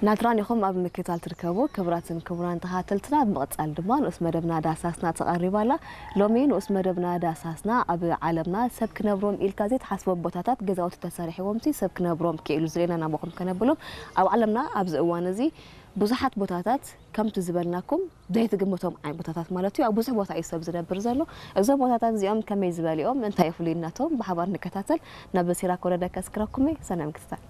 ናትራን ኢኹም ኣብ ምክትታል ትርከቡ። ክቡራትን ክቡራን ተኸታተልትና፣ ብምቕጻል ድማ ንኡስ መደብና ዳሳስና ተቐሪባ ኣላ። ሎሚ ንኡስ መደብና ዳሳስና ኣብ ዓለምና ሰብ ክነብሮም ኢልካ ዘይትሓስቦም ቦታታት፣ ገዛውቲ ተሰሪሕዎም ሲ ሰብ ክነብሮም ክኢሉ ዝለና ናባኹም ከነብሎም። ኣብ ዓለምና ኣብዚ እዋን እዚ ብዙሓት ቦታታት ከምቲ ዝበልናኩም ዘይትግምቶም ዓይነት ቦታታት ማለት እዩ። ኣብ ብዙሕ ቦታ እዩ ሰብ ዝነብር ዘሎ። እዞም ቦታታት እዚኦም ከመይ ዝበሉ እዮም፣ እንታይ እዩ ፍሉይነቶም፣ ብሓባር ንከታተል። ናብ ሲራክ ወረደ ከስክረኩም እየ። ሰናይ ምክትታል።